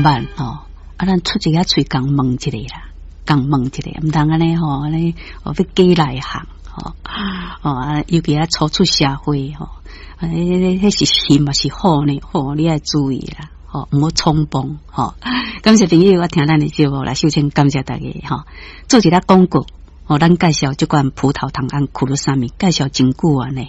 捌吼，啊，咱出一个喙共問一下啦，共問一下，毋通按呢吼，按呢哦欲假內行吼，哦啊，尤其啊初出社會吼，啊，彼是熊抑是虎呢？吼，你愛注意啦，吼，毋好衝動吼。感謝朋友，我聽咱的節目來，首先感謝大家吼，做一个廣告，吼，咱介紹這款葡萄糖胺苦魯沙米，介紹真久啊呢。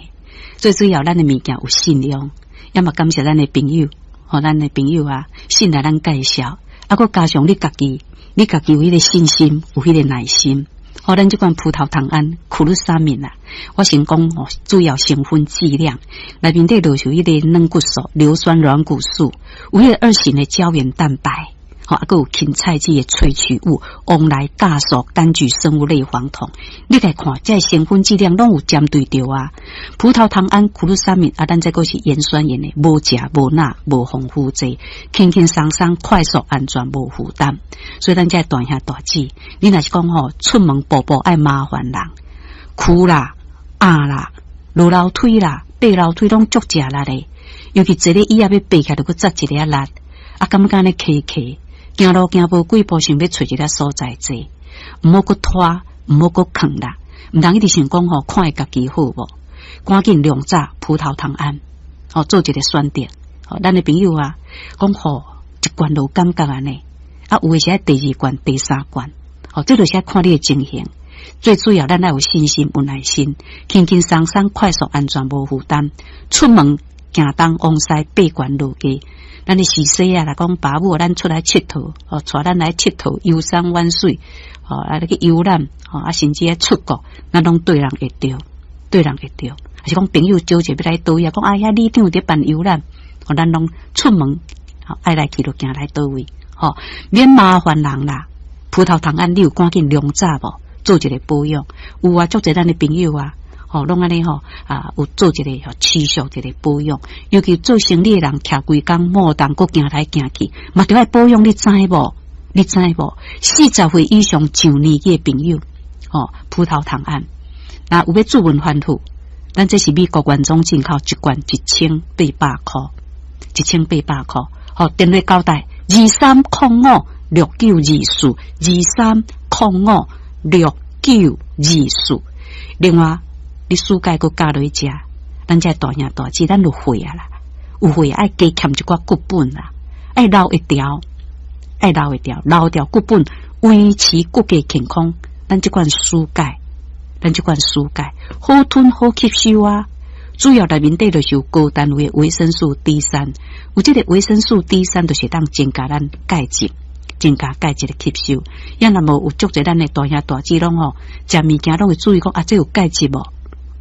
最主要，咱的物件有信用，也嘛感謝咱的朋友，吼，咱的朋友啊，信賴咱介紹，啊，閣加上你家己，你家己有彼个信心，有彼個耐心，吼，咱這款葡萄糖胺苦魯沙米啊，我先講哦，主要成分劑量內面底就是彼個軟骨素、硫酸軟骨素，有彼個二型的膠原蛋白。吼，啊，閣有芹菜籽的萃取物，黃來酵素、柑橘生物類黃酮，你來看，這成分劑量攏有針對著啊。葡萄糖胺、苦魯沙米啊，咱這閣是鹽酸鹽的，無鉀、無鈉、無防腐劑，輕輕鬆鬆、快速、安全、無負擔。所以咱這大兄大姊，你若是講吼，出門步步愛麻煩人，跍啦、壓啦、落樓梯啦、爬樓梯攏足食力的，尤其坐咧椅仔欲爬起來，閣扎一下力，啊，感覺按呢磕磕。行路行無幾步，想欲揣一个所在坐，毋好閣拖，毋好閣囥啦，毋通一直想講吼，看會家己好無？趕緊量早葡萄糖胺，吼，做一个選擇。吼，咱的朋友啊，講吼一罐就有感覺按呢，啊，有的是愛第二罐、第三罐，吼，這就是愛看你的情形。最主要，咱愛有信心、有耐心，輕輕鬆鬆、快速、安全、無負擔，出門行東往西，爬懸落低。咱的時勢啊，來講爸母，咱出來𨑨迌，哦，帶咱來𨑨迌，遊山玩水，哦，啊，你去遊覽，哦，啊，甚至愛出國，咱攏對人會著，對人會著。抑是講朋友招者欲來佗位啊，講啊，遐里長佇辦遊覽，哦，咱攏出門，愛來去就行來佗位，吼，免麻煩人啦。葡萄糖胺你有趕緊量早無？做一个保養，有啊，足濟咱的朋友啊。吼，攏按呢吼啊，有做一个吼持續一个保養，尤其做生意的人，徛規工莫當閣行來行去，嘛著愛保養，你知無？你知無？40歲以上上年紀的朋友，吼，葡萄糖胺，若有欲主問反覆，咱這是美國原裝進口，一罐1800箍，1800箍。吼，電話交代23056924，23056924。另外，你舒鈣閣加落去食，咱這大兄大姊，咱有歲啊啦，有歲愛加添一寡骨本啦，愛留會牢，愛留會牢，留牢骨本，維持骨骼健康。咱這款舒鈣，咱這款舒鈣好吞好吸收啊。主要內面底就是有高單位維生素 D 三，有這個維生素 D 三，就是當增加咱鈣質，增加鈣質的吸收。也若無有足濟咱的大兄大姊攏吼，食物件攏會注意講啊，這有鈣質無？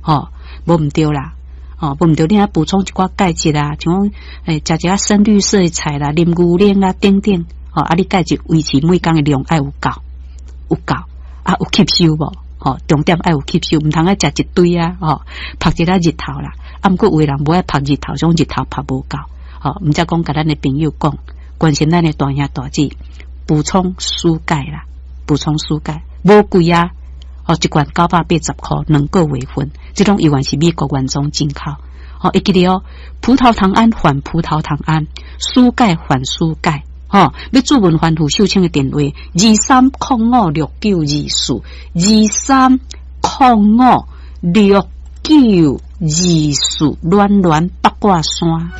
吼，無毋對啦，吼，無毋對，你愛補充一寡鈣質啊，像講欸，食一下深綠色的菜啦，啉牛奶啦，等等，吼，啊，你鈣質維持每工的量愛有夠，有夠，啊，有吸收無？吼，重點愛有吸收，毋通愛食一堆啊，吼，曝一下日頭啦，啊，毋過有的人無愛曝日頭，種日頭曝無夠，吼，毋才講共咱的朋友講，關心咱的大兄大姊，補充舒鈣啦，補充舒鈣，無貴啊。哦，一罐980箍，2個月份，這種猶原是美國原裝進口。哦，會記得哦，葡萄糖胺換葡萄糖胺，舒鈣換舒鈣。吼，欲主問番婦秀清的電話：23056924，23056924，暖暖八卦山。